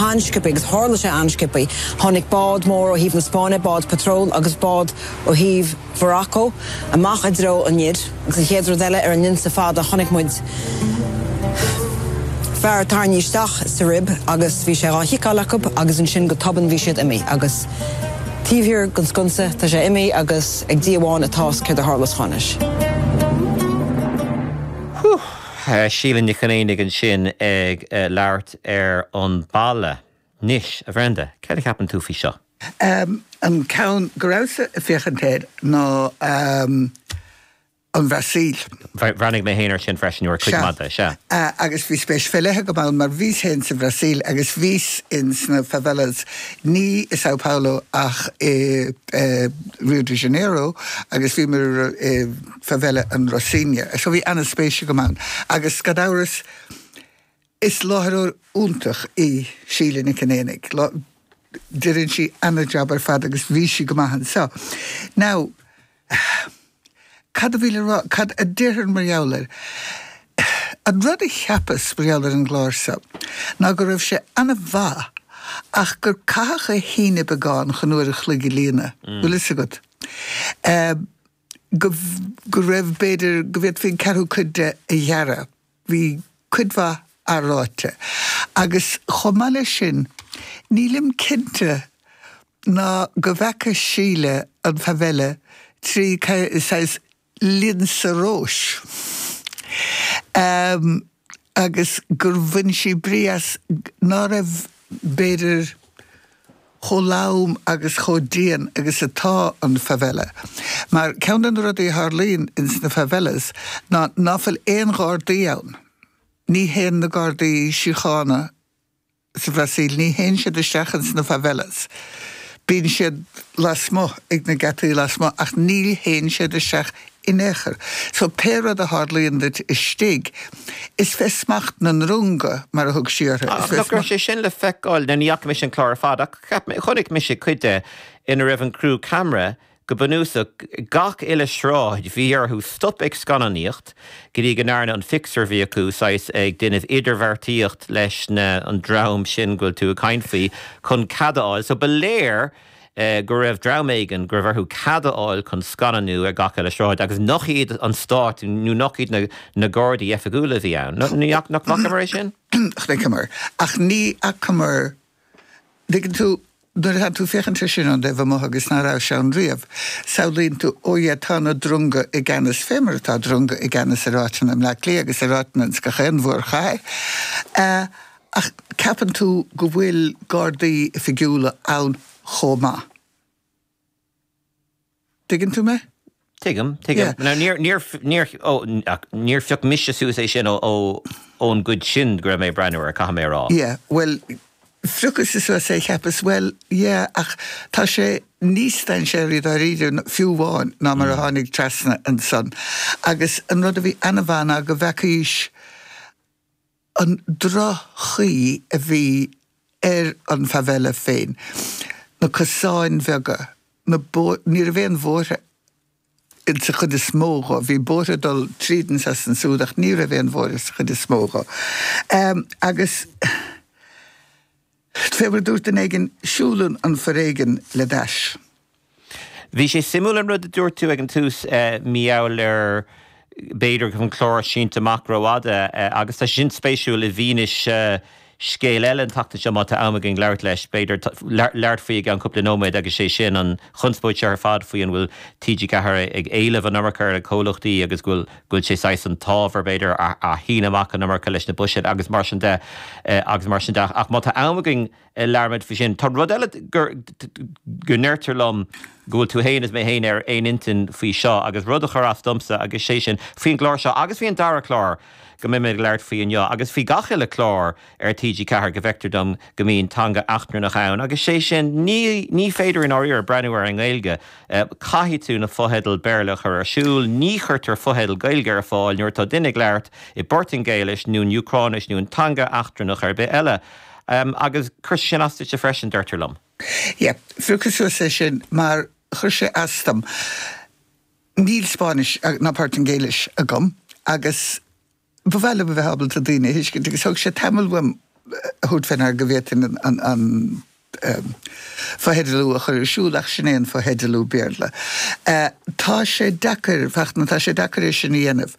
han-sciobtha agus tharla sé an-sciobtha. Tháinig bád mór ó thaobh na Spáinne, bád patról agus bád ó thaobh Mhorocco amach i dtreo an Nid agus an chéad rud eile ar an lionsa fada chonaic muid fear tarraingthe isteach sa rib agus bhí sé dhá chiceáil acu agus ansin go tobann bhí siad imithe agus taobh thiar den sconsa tá sé imithe agus ag Dia amháin atá fhios céard a tharlas dhó anois. Whew! Síle Nic an Éanaigh ansin ag labhairt ar an balla. Anois, a Bhrenda, céard a cheapann tú faoi seo? An ceann go rabhas-sa ag féachaint air ná an Bhrasaíl. Bhreathnaigh mé féin air sin freisin, uair cuid mhaith de, sea. Agus bhí spéis fé leith agam ann mar bhíos féin sa Bhrasaíl agus bhíos in sna favelas, ní i São Paulo ach i Rio de Janeiro agus bhíomar i favela an Rocinha. So bhí ana-spéis agam ann. Agus gan amhras, Is láithreoir iontach í Síle Nic an Éanaigh. Deineann sí ana-jab ar fad agus bhí sí go maith anseo. Now, cad a bhí le rá, cad a déarfainn mar gheall air? An rud a cheapas mar gheall ar an gclár seo ná go raibh sé ana-mhaith ach gur caitheadh a shíneadh beagán chun uair a chloig a líonadh. Bhfuil fhios agat? Go, go raibh, b'fhéidir, go bhféadfaí an ceathrú cuid de a ghearradh. Bhí cuid mhaith athráite. Agus chomh maith leis sin, nílim cinnte ná go bhfeaca Síle an favela trí saghas lionsa róis agus gur bhain sí brí as ná raibh, b'fhéidir, chomh lom agus chomh dian agus atá an favela. Mar ceann de na rudaí a tharlaíonn ins na favelas ná ná fuil aon ghardaí ann. Ní théann na gardaí síochána sa Bhrasaíl, ní théann siad isteach ins na favelas. Bíonn siad lasmuigh, ag na geataí lasmuigh, ach ní théann siad isteach in aon chor. So pé rud a tharlaíonn duit istigh, is fé smacht na ndronga, mar a thug sí orthu, is fé smacht. Nach raibh sé sin le feiceáil, now ní fhaca mise an clár ar fad, ach cheap mé, chonaic mise cuid de ina raibh an criú ceamara, go bunúsach, gach uile sráid, bhí orthu stop ag scannánaíocht go dtí go ndearna an fixer a bhí acu saghas ag déanamh idirbheartaíocht leis na, an dream sin go bhfuil tú ag caint faoi, chun cead a fháil. So ba léir go raibh dream éigin go raibh orthu cead a fháil chun scannánú ar gach uile sráid agus nach iad an stát nó nach iad na Gardaí oifigiúla a bhí ann. Nach bhfacamar é sin? Chonaiceamar. Ach ní fhacamar, dtuigeann tú, nuair atá tú ag féachaint air sin ón dtaobh amuigh agus ná rabhais ann riamh, samhlaíonn tú, oh yeah, tá na dronga i gceannas, fé mar atá dronga i gceannas ar áiteanna i mBleá Cliath agus ar áiteanna ins gach aon mhórchathair. Ach ceapann tú go bhfuil Gardaí oifigiúla ann chomh maith. Tuigeann tú mé? Tuigim, tuigim. Now níor, níor, níor, ó, níor phioc mise suas é sin ó, ó, ón gcuid sin go raibh mé ag breathnú air, caithfidh mé a rá. Yeah, bhuel, phiocas-sa suas é, cheapas, bhuel, yeah, ach tá sé níos dainséaraí dáiríre, fiú amháin, ná mar a tháinig trasna ansan. Agus an rud a bhí ana-mhaith ná go bhfeacaís, an droch-chaoi a bhí ar an favela féin, na cosáin bheaga, na bó, ní raibh aon bhóithre sa chuid is mó dho, bhí bóithre ag dul tríd anso is ansúd ach ní raibh aon bhóithre sa chuid is mó dho. Agus fé mar a dúirt duine éigin, siúlann an foréigean le d'ais. Bhí sé suimiúil an rud a dúirt tú ag an tús, mar gheall ar, b'fhéidir go raibh an clár sínte amach rófhada agus tá sé sin spéisiúil i bhfianaise scéal eile an tseachtain seo, má tá am againn labhairt leis, b'fhéidir, labhairt faoi i gceann cúpla nóiméad agus sé sin an chonspóid seo ar fad faoi an bhfuil TG4 ag éileamh an iomarca ar na comhlachtaí agus go bhfuil go bhfuil sé saghas an t-ábhar b'fhéidir a shíneadh amach an iomarca leis na buiséid agus mar sin de agus mar sin de ach má tá am againn labhróimid faoi sin. Tá rud eile gur, go ndeirtear liom go bhfuil tú féin is mé féin ar aon intinn faoi seo agus rud a chuir as domsa agus sé sin faoin gclár seo agus faoin dara clár go mbeimid ag labhairt faoi inniu agus faoi gach uile clár ar TG4 go bhfeictear dom go mbíonn teanga eachtrannach ann agus sé sin ní, ní féidir i ndáiríre breathnú air i nGaeilge. Caithfidh tú na fotheidil Béarla a chur ar siúl. Ní chuirtear fotheidil Gaeilge ar fáil nuair atá duine ag labhairt i bPortaingéilis nó in Úcráinis nó in teanga eachtrannach ar bith eile. Agus chuir sé sin as duitse freisin, deirtear liom. Yeah, phiocas suas é sin mar chuir sé as dom. Níl Spáinnis ná Portaingéilis agam agus ba mhaith liom a bheith ábalta daoine a thuiscint agus thóg sé tamall uaim. a thabhairt fé ndeara go bhféadfainn an fotheidealú a chur ar siúl ach sin é an fotheidealú Béarla. Tá sé deacair, Fachtna, tá sé deacair é sin a dhéanamh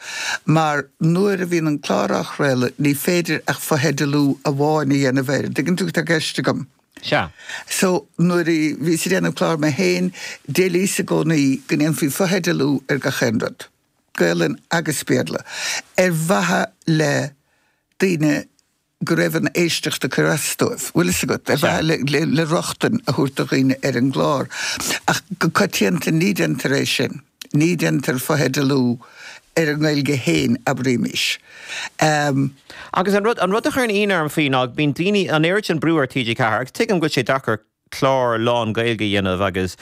mar nuair a bhíonn an clár á chraoladh ní féidir ach fotheidealú amháin a dhéanamh air. Dtuigeann tú cad tá i gceist agam? Sea. So, nuair a bhíos ag déanamh clár mé féin, d'éilíos i gcónaí go ndéanfaí fotheidealú ar gach aon rud, Gaelainn agus Béarla, ar mhaithe le daoine go raibh an éisteacht ag cur as dóibh, bhfuil fhios agat, ar mhaithe le rochtain a thabhairt do dhaoine ar an gclár. Ach go coitianta ní déantar é sin, ní déantar fotheidealú ar an nGaeilge féin, abraímis. Agus an rud, an rud a chuireann ionadh orm faoi ná bíonn daoine, an oiread sin brú ar TG4, agus tuigim go bhfuil sé deacair clár lán-Ghaeilge a dhéanamh agus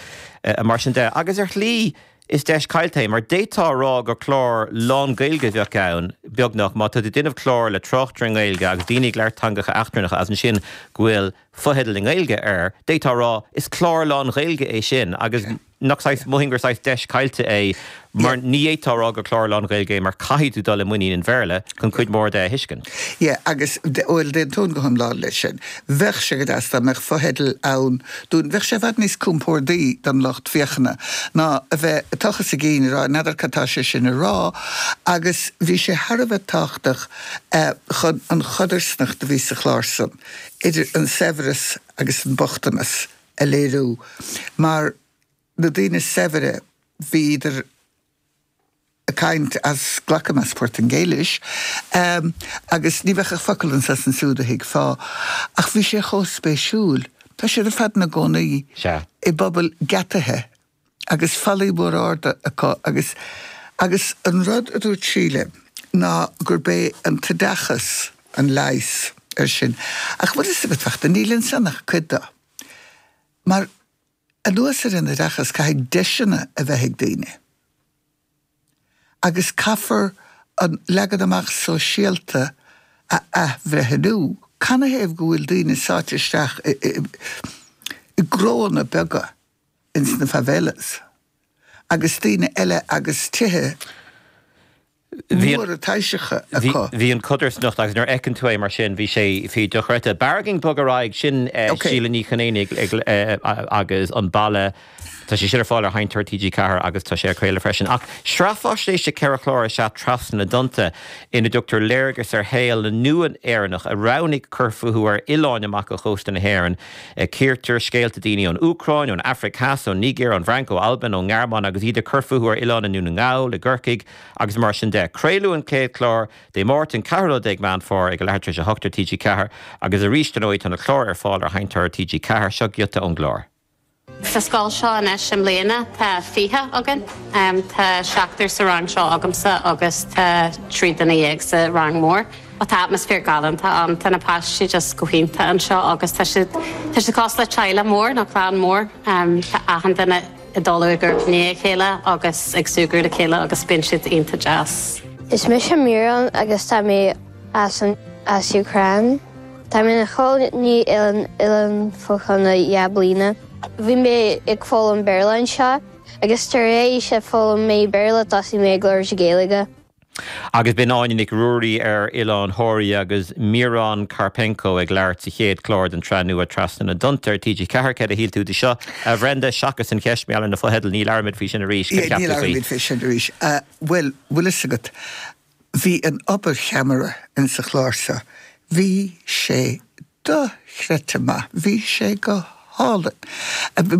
mar sin de, agus ar shlí is deis caillte é mar d'fhéadfá a rá gur clár lán-Ghaeilge a bheadh ann, beagnach, má tá tú ag déanamh clár le tráchtaire i nGaeilge agus daoine ag labhairt teangacha eachtrannacha agus ansin go bhfuil fotheidil i nGaeilge air, d'fhéadfá a rá is clár lán-Ghaeilge é sin agus nach saghas, mothaím gur saghas deis caillte é mar ní fhéadfá a rá gur clár lán-Ghaeilge é mar caithfidh tú dul i muinín an Bhéarla chun cuid mhór de a thuiscint. Yeah, agus, bhuel, d'aontóinn go hiomlán leis sin. Bheadh sé go deas dá mbeadh fotheidil ann dúinn. Bheadh sé i bhfad níos compordaí don lucht féachana ná a bheith ag tochas a gcinn ag rá n'fheadar cad tá sé sin a rá agus bhí sé thar a bheith tábhachtach chun an chodarsnacht a bhí sa chlár san idir an saibhreas agus an bochtanas a léiriú mar na daoine saibhre bhíodar ag caint as, glacaim as Portaingéilis, agus ní bheadh ach focal anso is ansúd a thuigfeá, ach bhí sé chomh spéisiúil. Tá siad ar fad ina gcónaí i bpobail geataithe agus fallaí móra arda acu agus, agus an rud a dúirt Síle ná gurb é an t-oideachas an leigheas air sin. Ach bhfuil fhios agat, Fachtna, níl ansan ach cuid de. Mar anuas ar an oideachas, caithfidh deiseanna a bheith ag daoine. Agus caithfear an leagan amach sóisialta a athbhreithniú. Canathaobh go bhfuil daoine sáite isteach i gcrónna beaga ins na favelas agus daoine eile agus tithe móra taibhseacha acu. Bhí an codarsnacht agus nuair a fheiceann tú é mar sin, bhí sé fiú dochreidte. B'fhearr againn bogadh ar aghaidh, sin Síle Ní Choileáin agus An Balla. Tá sé sin ar fáil ar Sheinnteoir TG4 agus tá sé ar craoladh freisin. Ach sraith faisnéise 4 chlár is ea Trasna na dTonnta ina dtugtar léargas ar shaol na nua-Éireannach a roghnaigh cur fúthu ar oileáin amach ó chósta na hÉireann. Cíortar scéalta daoine ón Úcráin, ón Afraic Theas, ón Nigéir, ón bhFrainc, ó Albain, ón nGearmáin agus iad ag cur fúthu ar oileáin i nDún na nGall, i gCorcaigh agus mar sin de. Craoladh an chéad chlár Dé Máirt an 14 lá Meán Fómhair ag a leathuair tar éis a hocht ar TG4 agus arís ar ndóigh tá na cláir ar fáil ar Sheinnteoir TG4. Seo giota ón gclár. Sa scoil seo anois i mbliana tá 20 againn. Tá seachtar sa rang seo agamsa agus tá 13 duine sa rang mór. Tá atmaisféar galánta ann. Tá na páistí just go hiontach anseo agus tá siad tá siad cosúil le teaghlach mór nó clann mór. Tá achan duine ag dul ag amharc i ndiaidh a chéile agus ag súgradh le chéile agus bíonn siad iontach deas. Is mise Miron agus tá mé as an as Úcráin. Tá mé ina chónaí ar an oileán Fochonn le 2 bliana. Bhí mé ag foghlaim Béarla anseo agus tar éis a foghlaim mé Béarla thosaigh mé ag labhairt Gaeilge. Agus b'in Áine Nic Ruairí ar Oileán Thoraí agus Miron Karpenko ag labhairt sa chéad chlár den tsraith nua Trasna na dTonnta ar TG4. Céard a shíl tú de seo, a Bhrenda? Seachas an cheist mar gheall ar na fotheidil, ní labhróimid faoi sin arís. Cad a cheap tú faoi? Ní labhróimid faoi sin arís. Bhuel, bhfuil fhios agat, Bhí an obair cheamara in sa chlár seo, bhí sé dochreidte maith, bhí sé go hálainn.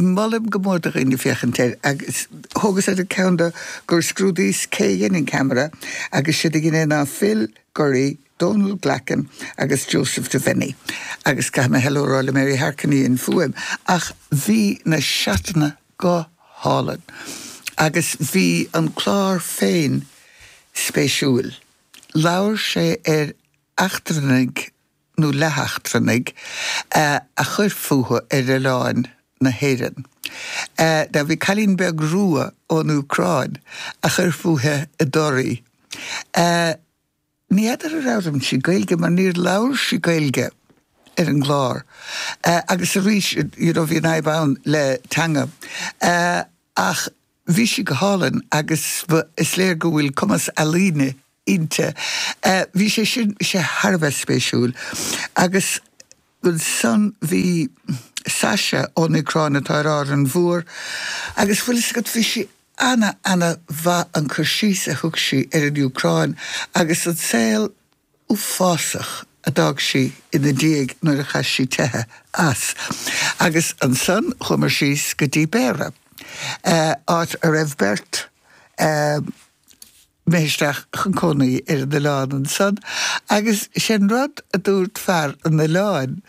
Molaim go mór do dhaoine féachaint air agus thógas ar an ceann de gur scrúdaíos cé a dhein an ceamara agus siad a dhein é ná Phil Gurry, Donal Glackin agus Joseph Devenny agus caithfidh mé hello a rá le Mary Harkin a dhein fuaim ach bhí na seatanna go hálainn agus bhí an clár féin spéisiúil. Labhair sé ar eachtrannaigh nó leath-eachtrannaigh a chuir fúthu ar oileáin na hÉireann. Now bhí cailín beag rua ón Úcráin a chuir fúithi i dToraí. Ní fheadar ar fhoghlaim sí Gaeilge mar níor labhair sí Gaeilge ar an gclár. Agus arís, you know, bhí an fhadhb ann le teanga. Ach bhí sí go hálainn agus is léir go bhfuil cumas ealaíne. Inti. Bhí sé sin, bhí sé thar a bheith spéisiúil. Agus ansan bhí Sasha ón Úcráin atá ar Árainn Mhór agus bhfuil fhios agat bhí sí ana, ana mhaith an cur síos a thug sí ar an Úcráin agus an saol uafásach a d'fhág sí ina diaidh nuair a chaith sí teitheadh as. Agus ansan chuamar síos go dtí Béarra, áit a raibh beirt, imithe isteach chun cónaí ar an oileán ansan agus sé'n rud a dúirt fear an oileáin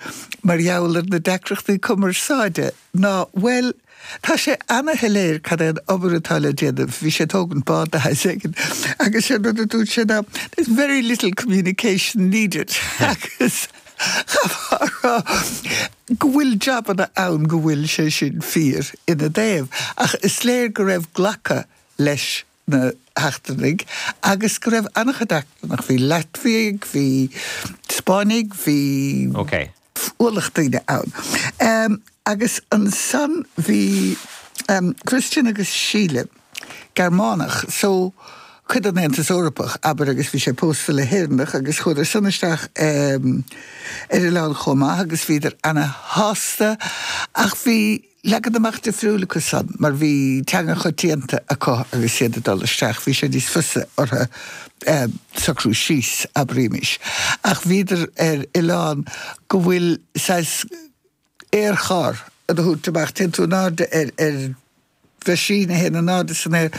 mar gheall ar na deacrachtaí cumarsáide ná bhuel tá sé ana-shoiléir cad é an obair atá le déanamh, bhí sé ag tógaint bád de shaghas éigin agus sé'n rud a dúirt sé ná there's very little communication needed agus chaithfeá a rá go bhfuil jabanna ann go bhfuil sé sin fíor ina dtaobh ach is léir go raibh glacadh leis na heachtrannaigh agus go raibh an-chuid eachtrannach, bhí Laitviaigh, bhí Spáinnigh, bhí ualach daoine ann. Agus ansan bhí Christian agus Síle, Gearmánach, so cuid den Aontas Eorpach, abair, agus bhí sé pósta le hÉireannach agus chuadar san isteach ar oileán chomh maith agus bhíodar ana-shásta ach bhí Leagan amach difriúil acu san, mar bhí teanga choitianta acu agus iad ag dul isteach, bhí sé níos fusa orthu socrú síos, abraímis. Ach bhíodar ar oileán go bhfuil saghas aercharr a thabhairt amach, téann tú in airde ar ar mheaisín a théann in airde san aer,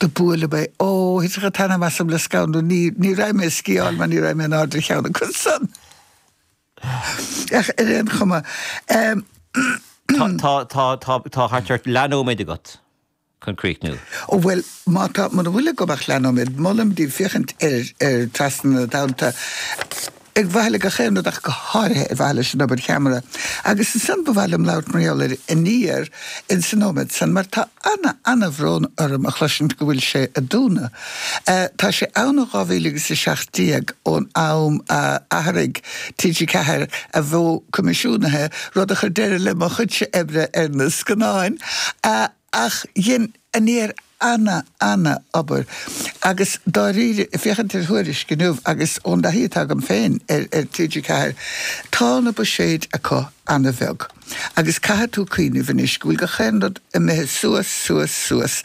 do buaileadh mé, ó, thitfeadh an t-anam asam le scanradh, ní ní raibh mé ag sciáil mar ní raibh mé in airde ar cheann acu san. Ach ar aon chuma. Tá, tá, tá, tá thart ar leathnóiméad agat chun críochnú. Ó bhuel, má tá, muna bhfuil agam ach leathnóiméad, molaim daoibh féachaint ar, ar Trasna na dTonnta, ar mhaithe le gach aon rud ach go háirithe ar mhaithe leis an obair cheamara. Agus ansan ba mhaith liom labhairt mar gheall ar Aniar ins an nóiméad san mar tá ana, ana-bhrón orm a chloisint go bhfuil sé ag dúnadh. Tá sé ann ó 2017, ón am a athraigh TG4 a mhodh coimisiúnaithe, rud a chuir deireadh le mo chuidse oibre ar na scannáin, ach dhein Aniar ana, ana obair agus dáiríre, ag féachaint ar Thuairisc inniu agus ón dtaithí atá agam féin ar TG4, tá na buiséid acu ana bheag. Agus caithfidh tú cuimhneamh anois go bhfuil gach aon rud imithe suas, suas, suas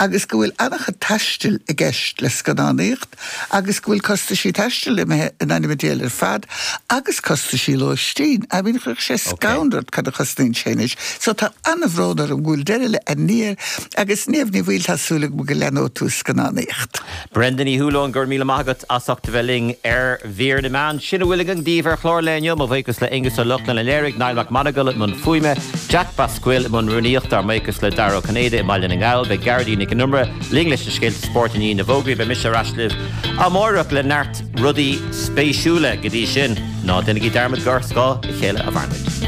agus go bhfuil an-chuid taistil i gceist le scannánaíocht agus go bhfuil costaisí taistil imithe in ainm an diabhail ar fad agus costaisí lóistín. I mean chuirfeadh sé scanradh ort cad a chosnaíonn sé anois. So tá an-bhrón orm go bhfuil deireadh le Aniar agus Niamh Ní Bhaoill tá súil agam go leathnóidh tú scannánaíocht. Brenda Ní Shúilleabháin, go raibh míle maith agat as ucht a bheith linn ar Mhír na Meán. Sin a bhfuil againn daoibh ar chlár an lae inniu. Mo bhuíochas le Aonghus Ó Lochlainn a léirigh, Niall Mac Monagail i mbun fuaime, Jack Basquille i mbun rúnaíochta, ár mbuíochas le Dara Ó Cinnéide i mBaile na nGall. Beidh Gearóidín Nic an Iomaire linn leis na scéalta spóirt i ndiaidh na bhfógraí. Beidh mise ar ais libh amárach le neart rudaí spéisiúla. Go dtí sin, ná déanaigí dearmad gur ar scáth a chéile a mhaireann muid.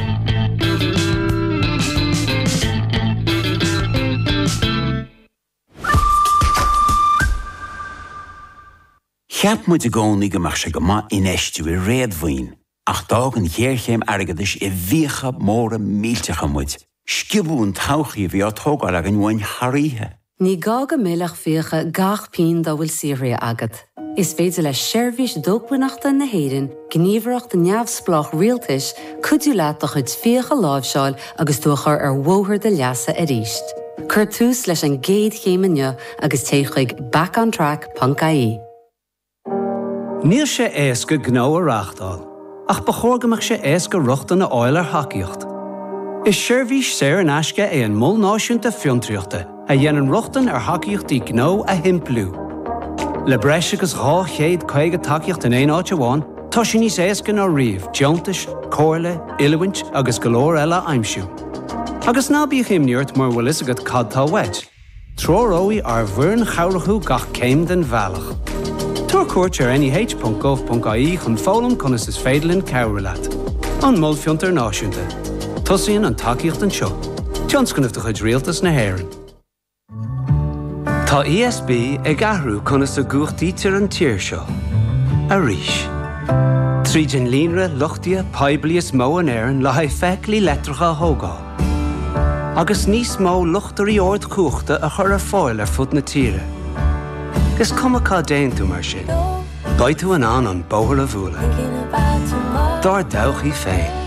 Cheap muid i gcónaí go mbeadh sé go maith infheistiú i réadmhaoin, ach d'fhág an ghéarchéim airgeadais i bhfiacha móra millteacha muid. Sciobadh an todhchaí a bhí á tógáil againn uainn thar oíche. Ní gá go millfeadh fiacha gach pingin dá bhfuil saothraithe agat. Is féidir le Seirbhís Dócmhainneachta na hÉireann, gníomhaireacht neamhspleách rialtais, cuidiú leat do chuid fiach a láimhseáil agus tú a chur ar bhóthar do leasa arís. Cuir tús leis an gcéad chéim inniu agus téigh chuig backontrack.ie. Níl sé éasca gnó a reáchtáil, ach ba chóir go mbeadh sé éasca rochtain a fháil ar thacaíocht. Is seirbhís saor in aisce é an Mol Náisiúnta Fiontraíochta a dhéanann rochtain ar thacaíochtaí gnó a shimpliú. Le breis agus 250 tacaíocht in aon áit amháin, tá sé níos éasca ná riamh deontais, comhairle, oiliúint agus go leor eile a aimsiú. Agus ná bíodh imní ort mura bhfuil fhios agat cad tá uait. Treoróidh ár bhfoireann chabhrach thú gach céim den bhealach. Tabhair cuairt ar neh.gov.ie chun foghlaim conas is féidir linn cabhrú leat. An Mol Fiontar Náisiúnta. Tosaíonn an tacaíocht anseo. Tionscnamh de chuid Rialtas na hÉireann. Tá ESB ag athrú conas a gcumhachtaítear an tír seo. Arís. Tríd an líonra luchtaithe poiblí is mó in Éirinn le haghaidh feithiclí leictreacha a thógáil. Agus níos mó luchtairí ardchumhachta a chur ar fáil ar fud na tíre. Is cuma cá dtéann tú mar sin. Beidh tú in ann an bóthar a bhualadh. Dár dtodhchaí féin.